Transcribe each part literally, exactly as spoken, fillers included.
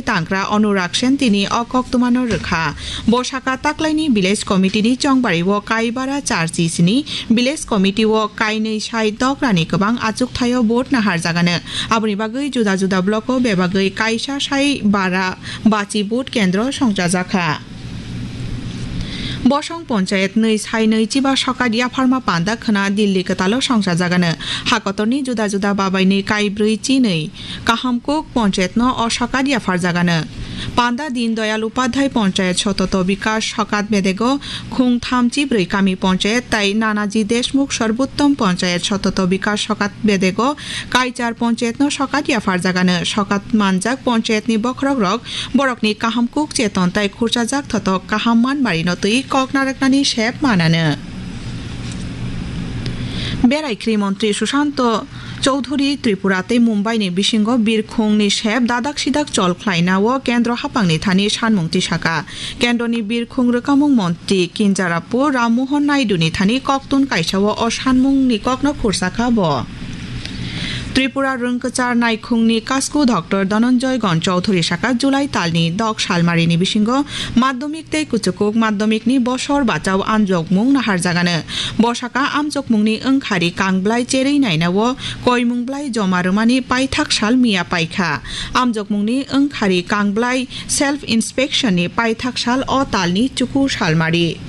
tangkra Anurag Sen tini o koktwmano rwkha. Bo saka taklaini village committee ni chongbari o kaibara charchi sini village committee o kainwi sai dokrani kwbang achukthai o vote naharjagano. Aboni bagwi juda juda block o bebagwi kaisa sai bara bachi vote kendro songchajakha. Bosong ponchayet nwi sai nwi chiba sokat yapharma panda khwna Delhi kwtalo songchajagano. Hakotorni juda juda babaini kaibrwi chinwi Kahamkuk ponchayetno o sokat yapharjagano. Panda Deen Dayal Upadhyay ponchayet sototo bikas sokat bedego khung thamchi brwi kami ponchayet tai Nanaji Deshmukh Sarbuttom ponchayet sototo bikas sokat bedego kaichar ponchayetno sokat yapharjagano. Sokat manjak ponchayetni bokhorokrok borokni kahamkuk cheton tai khurchajak thotok kaham manmarino twi kok narwknani sep manano. Berai khri montri Sushanto Chowdhury Tripura tei Mumbai ni bisingo birkhung ni sep dadak sidak chol khlaina o kendro haphang ni thani sanmung tisaka. Kendro ni birkhung rwkamung montri Kinjarapu Ram Mohan Naidu ni thani koktun kaisa o o sanmung ni kokno khursakha bo. Tripura rwngkwchar naikhung ni kasku Doctor Dhananjay Gon Chowdhury saka July tal ni dok salmari ni bisingo madhyamik tei kuchukuk madhyamik ni bosor bachao amjokmung naharjagano. Bo saka amjokmungni wngkhari kangblai cherwi naina o koimung blai joma rwmani paithak sal miya paikha. Amjokmungni wngkhari kangblai self inspection ni paithak sal o talni chuku salmari.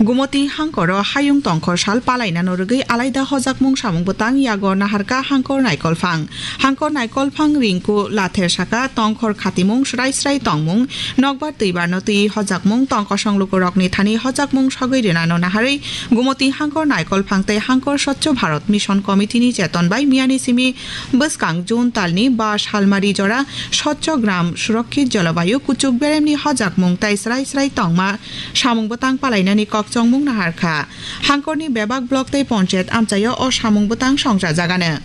Gumoti hangkoro hayung tongkhor sal palainano rwgwi alaida hojakmung samung bwtang yago naharka hangkor naikolphang. Hangkor naikolphang ringku lather saka tongkhor khatimung srai srai tongmung nokbar twibarno twi hojakmung tongkosong lukurokni thani hojakmung sogwi rwnano naharwi Gumoti hangkor naikolphang tei hangkor Swachh Bharat Mission Committee ni cheton bai miyani simi bwskang June talni ba salmari jora Swachh Gram Surakshit Jalabayu kuchuk beremni hojakmung tei srai srai tongma samung bwtang palainani kokchongmung naharkha. Hangkorni bebak block tei ponchayat amchaio o samung bwtang songchajagano.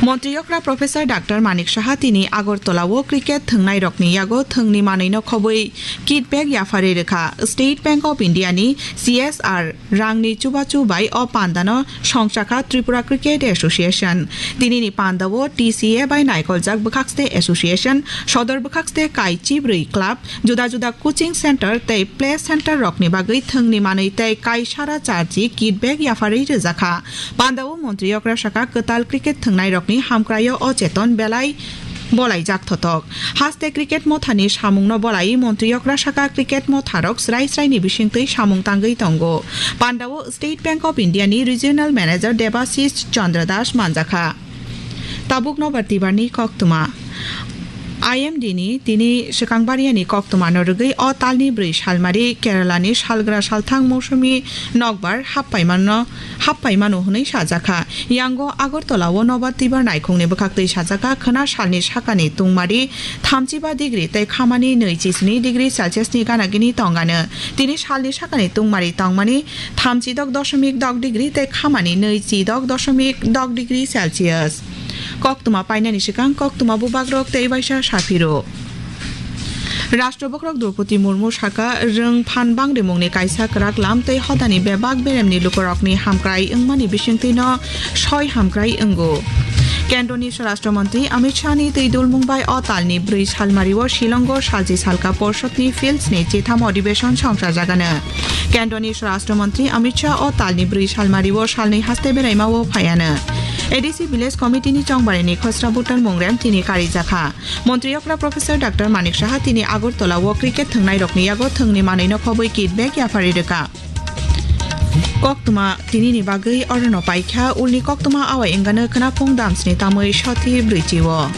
Montri okra Professor Doctor Manik Saha tini Agartala o cricket thwngnairokni yago thwngni manwino khobwi kit bag yapharwi rwkha. State Bank of India ni C S R rangni chubachu bai o pandano songchakha Tripura Cricket Association. Tinini pandao T C A bai naikoljak bwkhakste association, sodor bwkhakste kai chibrwi club, juda juda coaching center tei play center rokni bagwi thwngni manwi tei kaisara charchi kit bag yapharwi rwjakha. Pandao montri okra saka kwtal cricket thwngnairokni hamkraio o cheton belai bolaijak thotok. Haste cricket mothani samungno bolai montri okra saka cricket motharok srai sraini bisingtwi samung tangwi tongo. Pandao State Bank of India ni Regional Manager Debashish Chandra Das manjakha. Tabuk nobar tibarni koktwma. I M D ni tini swkang bariani koktwmano rwgwi o talni bwrwi salmari Kerala ni salgra salthang mousumi nokbar happaimano, happaimano hwnwi sajakha. Yango Agartala o nobar tibar naikhungni bwkhaktwi sajakha khwna salni sakani tungmari thamchiba degree tei khamani nwi chisni degree Celsius ni ganagini tongano. Tini salni sakani tungmari tongmani thamchidok doshomik dok degree tei khamani nwi chidok doshomik dok degree Celsius. Koktwma painani swkang koktwma bubagrok tei waisa saphiro. Rashtra bokhorok Droupadi Murmu saka rwng phan bangrimungni kaisa kwrak lam tei hodani bebak beremni lukurokni hamkrai wngmani bisingtwino soi hamkrai wngo. Kendroni Swarashtra Montri Amit Shah ni twi dulmung bai o talni bwrwi salmario Shillongo salchi salka porshotni fields ni chitham odibeshon songchajagano. Kendroni Swarashtra Montri Amit Shah o talni bwrwi salmario salnwi haste beraima o phaiano. A D C Village Committee ni chongbarini khosra Bhutan Mungrem tini karijakha. Montri okra Professor Doctor Manik Saha tini Agartala o cricket thwngnairokni yago thwngni manwino khobwi kit bag yapharwi rwkha. Koktwma tinini bagwi orono paikha, ulni koktwma awai wngano khwnaphung damsni tamwi soti brwichi o.